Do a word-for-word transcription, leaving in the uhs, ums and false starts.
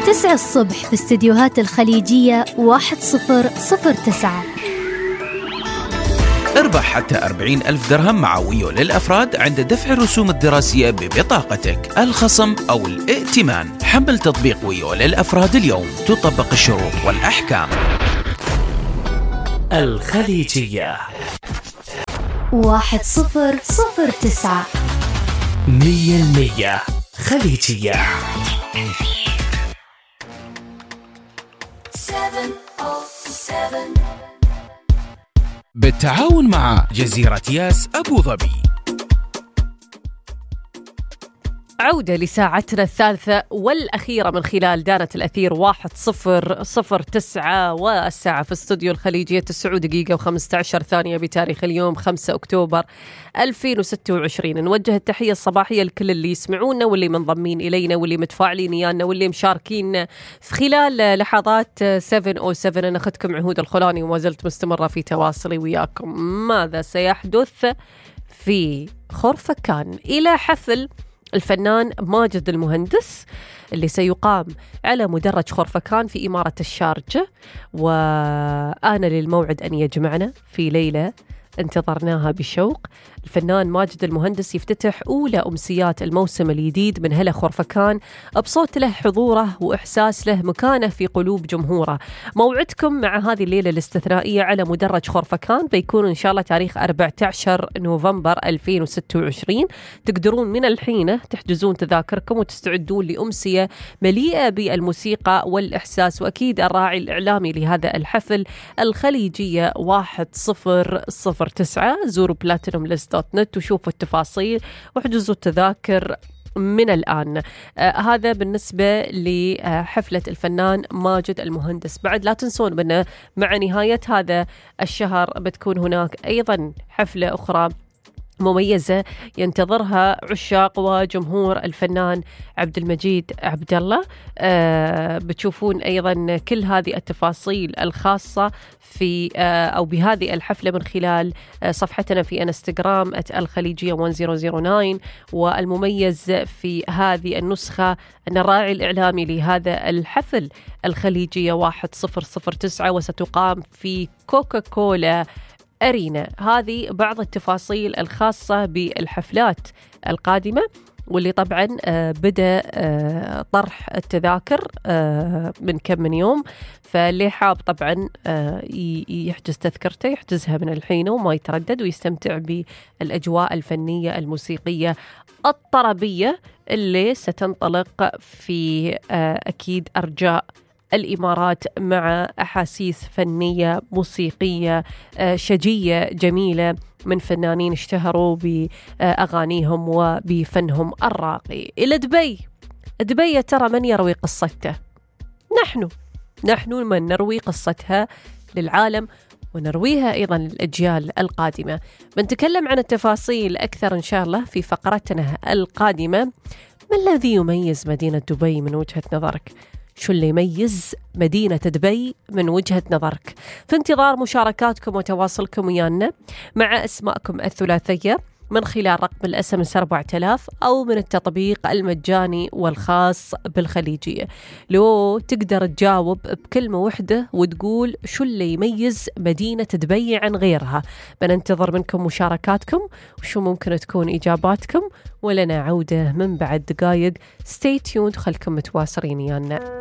تسعة الصبح في استديوهات الخليجية واحد صفر صفر تسعة. اربح حتى أربعين ألف درهم مع ويو للأفراد عند دفع الرسوم الدراسية ببطاقتك، الخصم أو الائتمان. حمل تطبيق ويو للأفراد اليوم، تطبق الشروط والأحكام. الخليجية واحد صفر صفر تسعة. مية المية خليجية. بالتعاون مع جزيرة ياس أبو ظبي. عودة لساعتنا الثالثة والأخيرة من خلال دانة الأثير واحد صفر صفر تسعة، والساعة في استوديو الخليجية تسعة دقيقة وخمسة عشر ثانية بتاريخ اليوم خمسة أكتوبر ألفين وستة وعشرين. نوجه التحية الصباحية لكل اللي يسمعونا واللي منضمين إلينا واللي متفاعلين يانا واللي مشاركين في خلال لحظات سبعة أو سبعة. أنا أخذكم عهود الخولاني وما زلت مستمرة في تواصلي وياكم. ماذا سيحدث في خرفكان إلى حفل الفنان ماجد المهندس اللي سيقام على مدرج خرفكان في إمارة الشارجة، وآن للموعد أن يجمعنا في ليلة انتظرناها بشوق. الفنان ماجد المهندس يفتتح أولى أمسيات الموسم الجديد من هلا خرفكان بصوت له حضوره وإحساس له مكانه في قلوب جمهوره. موعدكم مع هذه الليلة الاستثنائية على مدرج خرفكان بيكون إن شاء الله تاريخ أربعة عشر نوفمبر ألفين وستة وعشرين. تقدرون من الحين تحجزون تذاكركم وتستعدون لأمسية مليئة بالموسيقى والإحساس، وأكيد الراعي الإعلامي لهذا الحفل الخليجية واحد صفر صفر تسعة. زوروا بلاتينوم ليست دوت نت وشوفوا التفاصيل واحجزوا التذاكر من الآن. آه هذا بالنسبة لحفلة الفنان ماجد المهندس. بعد لا تنسون بأن مع نهاية هذا الشهر بتكون هناك أيضا حفلة أخرى مميزة ينتظرها عشاق وجمهور الفنان عبد المجيد عبد الله. آه بتشوفون أيضا كل هذه التفاصيل الخاصة في آه أو بهذه الحفلة من خلال آه صفحتنا في انستغرام الخليجية واحد صفر صفر تسعة. والمميز في هذه النسخة أن الراعي الإعلامي لهذا الحفل الخليجية واحد صفر صفر تسعة، وستقام في كوكا كولا أرينا. هذه بعض التفاصيل الخاصة بالحفلات القادمة، واللي طبعا بدأ طرح التذاكر من كم من يوم. فاللي حاب طبعا يحجز تذكرته يحجزها من الحين وما يتردد ويستمتع بالأجواء الفنية الموسيقية الطربية اللي ستنطلق في أكيد أرجاء الإمارات مع أحاسيس فنية موسيقية شجية جميلة من فنانين اشتهروا بأغانيهم وبفنهم الراقي. إلى دبي. دبي ترى من يروي قصته؟ نحن نحن من نروي قصتها للعالم ونرويها أيضا للأجيال القادمة. بنتكلم عن التفاصيل أكثر إن شاء الله في فقرتنا القادمة. ما الذي يميز مدينة دبي من وجهة نظرك؟ شو اللي يميز مدينة دبي من وجهة نظرك؟ في انتظار مشاركاتكم وتواصلكم ويانا مع أسماءكم الثلاثية من خلال رقم الأس إم إس أربعة آلاف أو من التطبيق المجاني والخاص بالخليجية. لو تقدر تجاوب بكلمة واحدة وتقول شو اللي يميز مدينة دبي عن غيرها. بننتظر منكم مشاركاتكم وشو ممكن تكون إجاباتكم، ولنا عودة من بعد دقائق. stay tuned، خلكم متواصلين يانا.